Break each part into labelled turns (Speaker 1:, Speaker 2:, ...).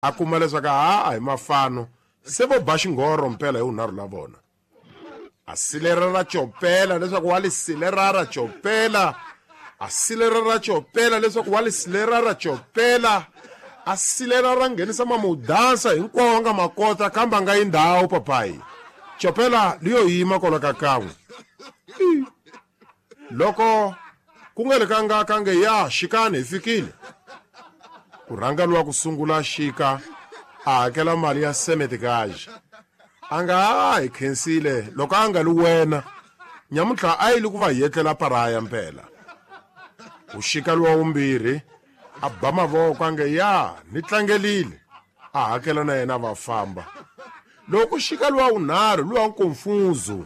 Speaker 1: A kuma leswaku ha a hi mafano se vo ba xinghoro mpela hi vunharhu la vona. A silerara copela leswaku wa li silerara copela. A silerara copela leswaku wa li silerara copela. A silerara nghenisa mamudansa hinkwawo a nga ma kota kambe a nga yi ndhawu papayi. Copela liyo yima kwala ka kan'we. Loko ku nga le ka nga ka nge ya xikani hi fikile. Ku rhanga luwa ku sungula xika a hakela mali ya semetikaji. A nga ha hi khensile loko a nga li wena. Nyamuntlha a yi li ku va hi etlela paraya mpela. Ku xika luwa wumbirhi a ba mavoko a nge ya ni tlangelile. A hakela na yena va famba. Loko ku xika luwa wunharhu luwa nkonfuzu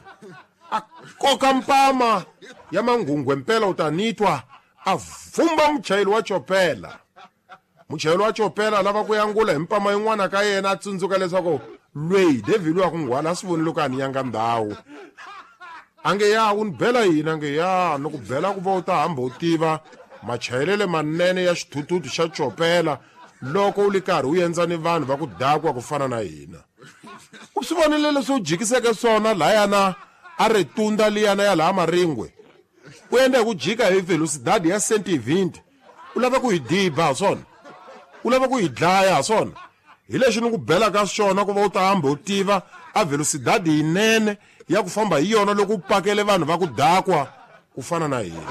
Speaker 1: a koka mpama ya manghunghwe mpela u ta nitwa a vumba muchayeri wa chopela. Muchayeri wa chopela a lava ku yangula hi mpama yin'wana ka yena a tsundzuka leswaku lweyi David wa ku nghwala a swi voni loko a ni yanga ndhawu. A nge ya u ni bela yini a nge ya ni ku bela ku va u ta hamba u tiva machayelele manene ya xithuthuthu xa chopela loko u li karhi u endza ni vanhu va ku dakwa ku fana na hina. U swi vonile leswi u jikiseke swona layana a ri tunda liyana ya laha Maringwe. U endla hi ku jika hi velocidade ya 120. U lava ku hi diba ha swona? U lava ku hi dlaya ha swona? Hi lexi ni ku belaka xona ku va u ta hamba u tiva a velocidade yinene ya ku famba hi yona loko u pakele vanhu va ku dakwa ku fana na hina.